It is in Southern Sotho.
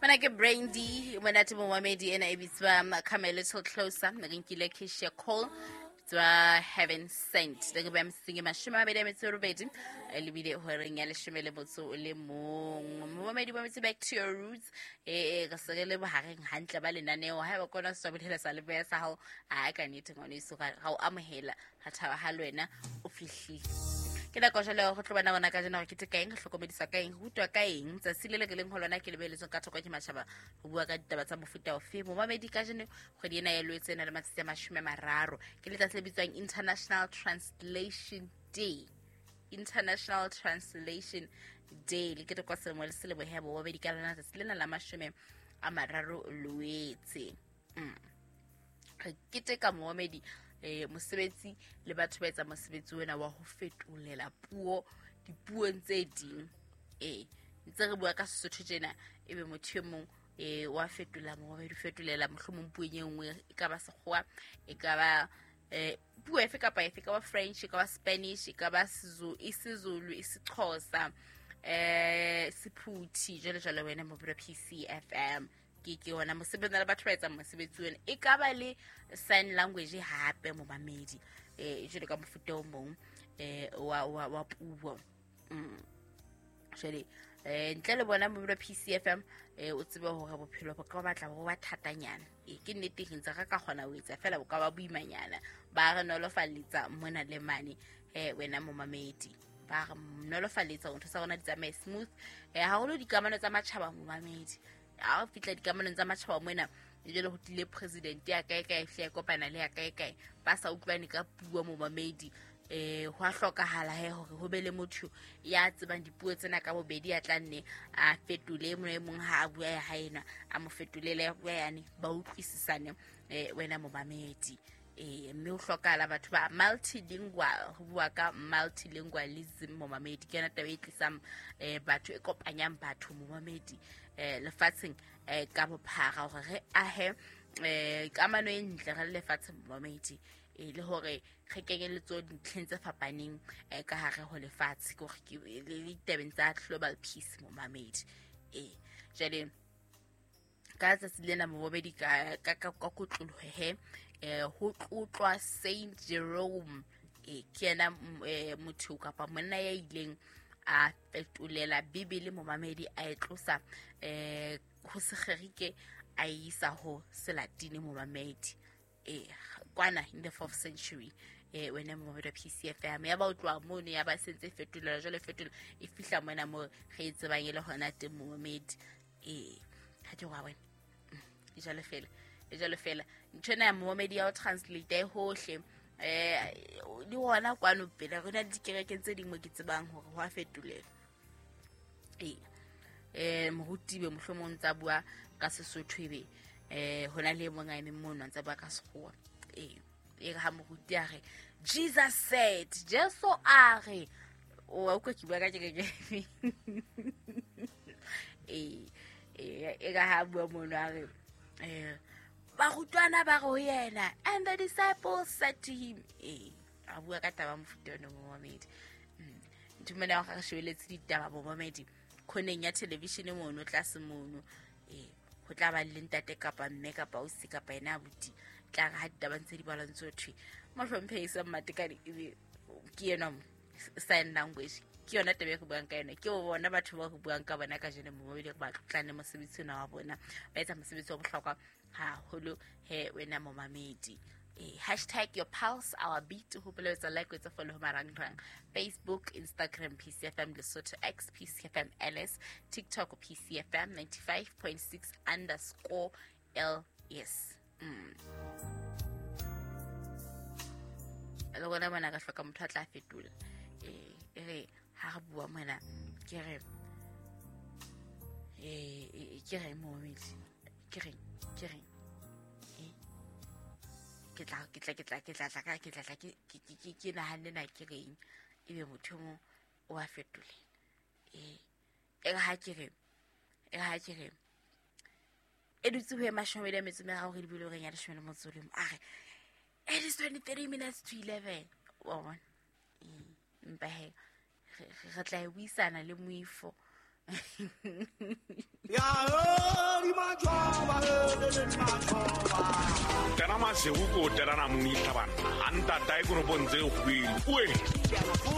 Mona ke Brandy, monate momamedi ena e bitswa Come a Little Closer, re nkile Keisha Cole tswa Heaven Sent. Le ke ba msing 28 lebile horeng ya 11. Momamedi ba metse back to your roots. Re se re le bohareng hantle ba lenaneo. Haeba kona se tswa sa le boya sa hao, a ka nnete ngwaneso ga o amohela, ga thaba ha le wena o fihlile. Ke nako jwale ya go tlo bona rona kajeno hore ke teka eng, re hlokomedisa ka eng, re rutwa ka eng. Tsatsi le le re leng ho lona ke lebeletsweng ka thoko ke matjhaba ho bua ka ditaba tsa mofuta ofe. Momamedi kajeno kgwedi ena ya Loetse e na le matsatsi a 30, ke letsatsi le bitswang International Translation Day. International Translation Day le ketekwa selemo le selemo he bomamedi ka lona tsatsi lena la 30 Loetse. Re keteka momamedi mosebetsi le batho ba etsa mosebetsi ona wa ho fetolela puo dipuong tse ding. Ntse re bua ka Sesotho tjena, ebe motho e mong wa fetola momamedi, o fetolela mohlomong puong e nngwe, e ka ba Sekgowa, e ka ba puo efe kapa efe, e ka ba French, e ka ba Spanish, e ka ba isiZulu, isiXhosa, Sephuthi, jwalo jwalo. Wena mobilo PCFM ke ona mosebetsi le batho ba etsang mosebetsi ona, e ka ba le sign language hape momamedi, jwalo ka mofuta o mong wa puo. Jwale ntle le bona mobilo PCFM, o tsebe hore bophelo bo ka batla bo ba thatanyana. Ke nnete re ntse re ka kgona ho etsa fela bo ka ba boimanyana, ba re nolofaletsa mona le mane. Wena momamedi, ba re nolofaletsa hore ntho tsa rona di tsamaye smooth, haholo dikamano tsa matjhaba momamedi. Ha o fihla dikamanong tsa matjhaba mona, jwale ho tlile president ya kae kae, fihle ya kopana le ya kae kae, ba sa utlwane ka puo momamedi. Ho a hlokahala he hore ho be le motho ya tsebang dipuo tsena ka bobedi, ya tla nne a fetole mong e mong ha a bua ya hae ena, a mo fetolele ya bua yane, ba utlwisisane. Wena momamedi, mme ho hlokahala batho ba multilingual, ho bua ka multilingualism momamedi, ke yona taba e tlisang batho, e kopanyang batho momamedi, lefatsheng ka bophara, hore re ahe kamano e ntle re le lefatshe momamedi, le hore re kenyeletswe dintlheng tse fapaneng ka hare ho lefatshe, ke hore ke le ditabeng tsa global peace momamedi. Jwale ka tsatsi lena momamedi, ka kotloloho he, ho tlotlwa Saint Jerome. Ke yena motho kapa monna ya ileng a fetolela Bibele momamedi, a e tlosa ho Segerike a e isa ho Selatine momamedi, kwana in the 4th century. Wena momamedi wa PCFM, ya ba o tloha mono, ya ba sentse fetolela jwale, fetolela e fihla mona mo re e tsebang e le hona teng momamedi. Ha ke wa wena e jwalo fela, e jwalo fela ntho ena ya momamedi ya ho translate e hohle, le hona kwano pele re na le dikerekeng tse ding mo ke tsebang hore ho a fetolela. Moruti be mohlomong ntsa bua ka Sesotho, ebe hona le e mong a emeng mono a ntsa bua ka Sekgowa. E re ha moruti a re Jesus said, Jesu a re, o utlwa ke bua ka kereke. E ka ha bua mono a re barutwana ba re ho yena, and the disciples said to him. A bua ka taba mofuta ona momamedi. Ntho mona ya re shebeletse ditaba momamedi khoneng ya television mono tlase mono, ho tla ba le ntate kapa mme kapa ausi kapa yena abuti, tla re ha ditaba ntse di balwa ntse thwe mohlomphehi sa Mmatekane, ebe ke yena mo sign language, ke yona taba e re buang ka yona, ke bona batho ba re buang ka bona kajeno momamedi, re ba tlotlane mosebetsi ona wa bona, ba etsa mosebetsi wa bohlokwa haholo he wena momamedi. Hashtag your pulse our beat, ho etsa like, etsa follow ho marangrang, Facebook, Instagram PCFM Lesotho, X PCFM LS, TikTok PCFM 95.6 underscore LS. Le rona mona ka hloka motho a tla fetola. E re ha re bua mona ke re ke re momamedi, ke reng ke reng, ke tla ke tla ke tla ke tla tla ka ke tla tla ke ke ke nahanne na ke reng, ebe motho mo o a fetolela. E re ha ke re, e re ha ke re e dutse ho ema 23 re dibile horeng ya 11, a re it is 23 minutes to 11, wa bona. Empa he re tla e buisana le moifo. Ya Maseru ko telana monitlha banna a ntatae konopong tse kgubedu oe.